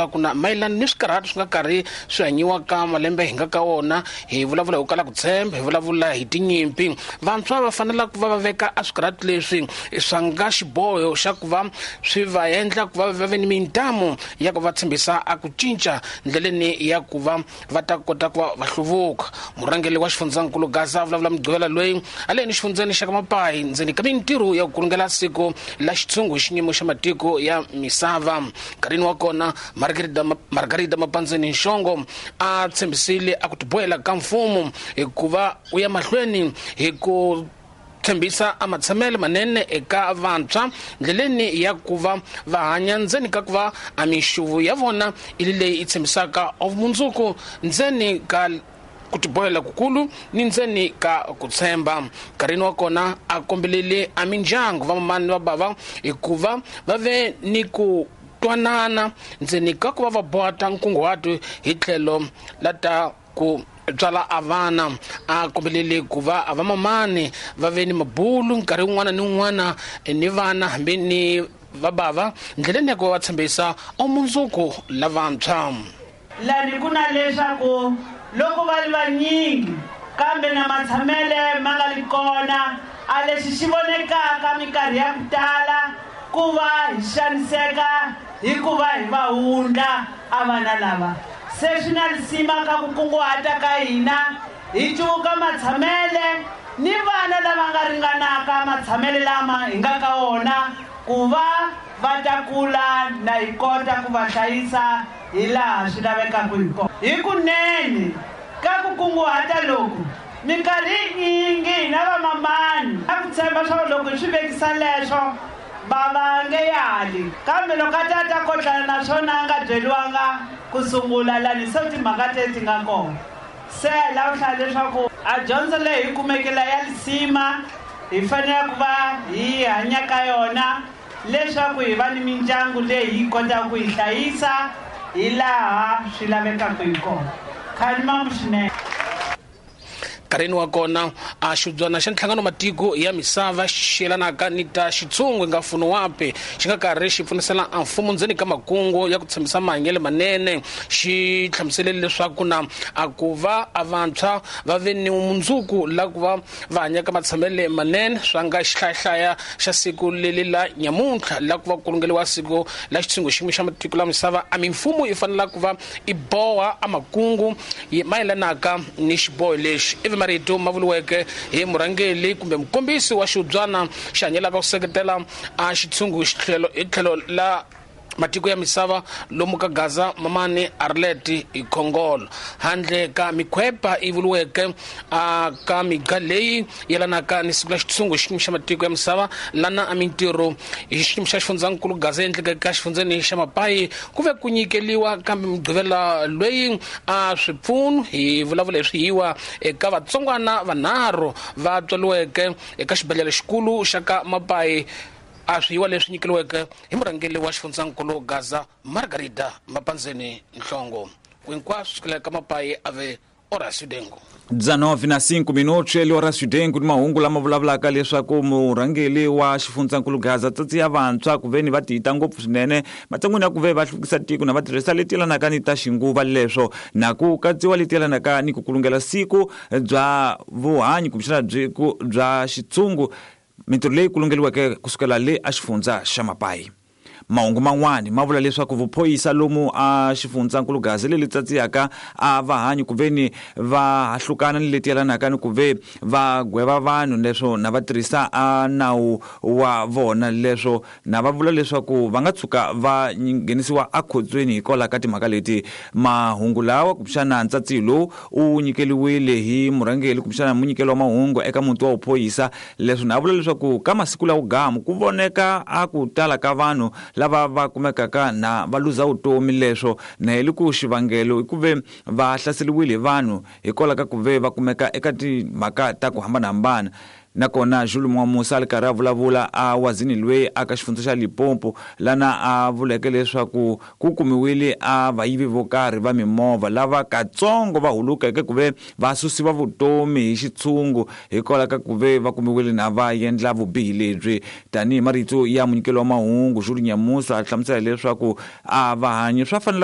Leswaku na mayelana ni swikarhati swi nga karhi swi hanyiwaka malembe hi nga ka wona, hi vulavula hi ku kala ku tshemba, hi vulavula hi tinyimpi, vantshwa va fanela ku va va veka a swikarhati leswi swa nga xiboho xa ku va swi va endla ku va va ve ni mintamu ya ku va tshembisa a ku cinca ndleleni ya ku va va ta kota ku va va hluvuka. Murhangeri wa xifundzankulu Gaza a vulavula Mugqivela loyi a le ni xifundzeni xa ka Mapayi ndzeni ka mintirho ya ku kulungela siku la xitshungu hi xiyimo xa matiko ya misava. Nkarhini wa kona, Margarida Mapandzeni Nxongo a tshembisile a ku tibohela ka mfumo hikuva u ya mahlweni hi ku tshembisa a matshamelo manene eka vantshwa ndleleni ya ku va va hanya ndzeni ka ku va a minxuvu ya vona ili leyi yi tshembisaka vumundzuku ndzeni ka ku tibohela kukulu ni ndzeni ka ku tshemba. Nkarhini wa kona a kombelele a mindyangu, vamamani ni vabava, hikuva va ve ni ku twanana ndzeni ka ku va va bohata nkunguhato hi tlhelo la ta ku tswala a vana. A kombelele ku va a vamamani va ve ni mabulu nkarhi wun'wana ni wun'wana ni vana hambi ni vabava ndleleni ya ku va va tshembisa omundzuku lavantshwa. Lani ku na leswaku loko va ri vanyingi kambe na matshamele ma nga li kona, a lexi xi vonekaka minkarhi ya ku tala ku va hi xaniseka hi ku va hi va wundla a vana lava. Se swi na lisima ka ku kunguhata ka hina hi cuvuka matshamele ni vana lava nga ringanaka matshamele lama hi nga ka wona ku va va ta kula na hi kota ku va hlayisa hi laha swi lavekaka hi kona. Hikunene ka ku kunguhata loku, minkarhi yinyingi hina vamamani na ku tshemba swa ku loko hi swi vekisa leswo bava nge yali, kambe loko a ta ta kotlana na swona a nga byeliwanga ku sungula lani se timhaka te ti nga kona. Se hi lava ku hlaya leswaku a dyondzo leyi hi kumeke la ya lisima hi fanele ku va hi hanya ka yona leswaku hi va ni mindyangu leyi hi kotaka ku yi hlayisa hi laha swi lavekaka hi kona. Khalimambu swinene. Nkarhini wa kona a xibyana xa nhlangano matiko ya misava xi yelanaka ni ta xitshungu nga mfuno wapi xi nga karhi xi pfunisela a mfumo ndzeni ka makungu ya ku tshembisa mahanyelo manene, xi hlamuselele leswaku na a ku va a vantshwa va ve ni mundzuku la ku va va hanyaka matshamele manene swa nga xihlayahlaya xa siku leli la nyamuntlha la ku va ku kulungeliwa siku la xitshungu xin'we xa matiko la misava. A mimfumo yi fanela ku va i boha a makungu mayelanaka ni xiboho lexi, ivi marito ma vuriweke hi murhangeri kumbe mukombisi wa xihubyana xi hanyelaka ku seketela a xitshungu xitlhelo hi tlhelo la matiko ya misava lomu ka Gaza, Mamani Arlet Khongolo. Handle ka mikhwepa yi vuriweke a ka miga leyi yelanaka ni siku la xitshungu xiyimo xa matiko ya misava lana a mintirho hi xiyimo xa xifundzankulu Gaza endleke ka xifundzeni xa Mapayi ku ve ku nyikeliwa kambe Mugqivela loyi a swipfuno hi vulavula hi swihiwa eka vatsongwana vanharhu va tswaliweke eka xibedhlele xikulu xa ka Mapayi, a swihiwa leswi nyikeliweke hi murhangeri wa xifundzankulu Gaza Margarida Mapandzeni Nhlongo. Hinkwaswo sukela ka Mapayi a ve Horacio Dengo. 19 na 5 minutos eli Horacio Dengo ni mahungu lama vulavulaka leswaku murhangeri wa xifundzankulu Gaza tsatsi ya vantshwa ku ve ni va tiyita ngopfu swinene matshan'wini ya ku ve va hluvukisa tiko na va tirhisa leti yelanaka ni ta xinguva leswo na ku katsiwa leti yelanaka ni ku kulungela siku bya vuhanyi kumbexana bya xitshungu, mintirho leyi kulungeliweke kusukela le a xifundza xa Mapayi. Mahungu man'wani ma vula leswaku vuphoyisa lomu a xifundzankulu Gaza leli tsatsiyaka a va hanyi ku ve ni va hahlukana ni leti yelanaka ni ku ve va gweva vanhu leswo na va tirhisa a nawu wa vona, leswo na va vula leswaku va nga tshuka va nghenisiwa ekhotsweni hikwalaho ka timhaka leti. Mahungu lawa kumbexana ntsatsiyo lowu u nyikeliwile hi murhangeri kumbexana munyikeli wa mahungu eka muti wa vuphoyisa, leswo na vula leswaku ka masiku lawo gamu ku voneka a ku tala ka vanhu lava va kumekaka na va luza vutomi, leswo na hi ku xivangelo i ku ve va hlaseriwile hi vanhu hikwalaho ka ku ve va kumeka eka timhaka ta ku hambanahambana. Nakona Jules Mwamusa a ri karhi a vulavula a wazini loyi a ka xifundza xa Limpopo lana a vuleke leswaku ku kumiwile a vayivi vo karhi va mimovha lava katsongo va hulukeke ku ve va susiwa vutomi hi xitshungu hikwalaho ka ku ve va kumiwile na va endla vubihi lebyi. Tanihi marito ya munyikeli wa mahungu Jules Nyamusa a hlamusela leswaku a vahanyi swa fanela